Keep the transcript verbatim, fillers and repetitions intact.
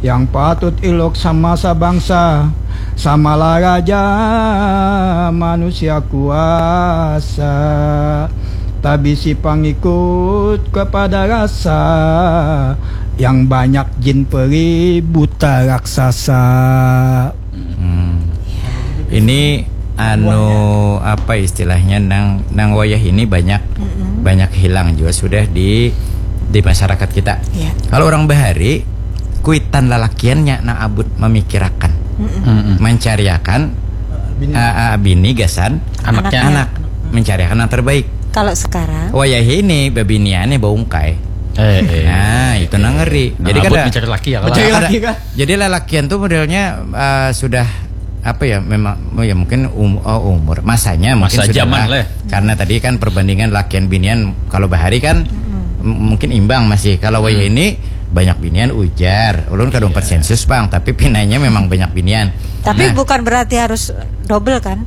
Yang patut iluk sama sabangsa, samalah raja manusia kuasa. Tabisi pangikut kepada rasa, yang banyak jin peri buta raksasa. Hmm. Ini anu apa istilahnya nang nang wayah ini banyak banyak hilang juga sudah di di masyarakat kita. Iya. Kalau orang bahari kuitan lalakiannya nang abut memikirakan, mencariakan ah, ah, bini gasan Anaknya. anak, mencariakan yang terbaik. Kalau sekarang Wayah ini bebiniannya baungkai. Eh, eh. Nah, itu nang ngeri. Nah, Jadi abut kada mencari laki ya, Kada- kalau- Mencari kada- laki kah? Jadi lalakian tuh modelnya eh, sudah apa ya memang oh ya mungkin um, oh, umur masanya mungkin Masa sudah zaman lah. Karena tadi kan perbandingan lakian binian kalau bahari kan m- mungkin imbang masih kalau wayah ini banyak binian ujar ulun kada umpat sensus bang tapi pinanya memang banyak binian. Tapi Nah, bukan berarti harus double kan?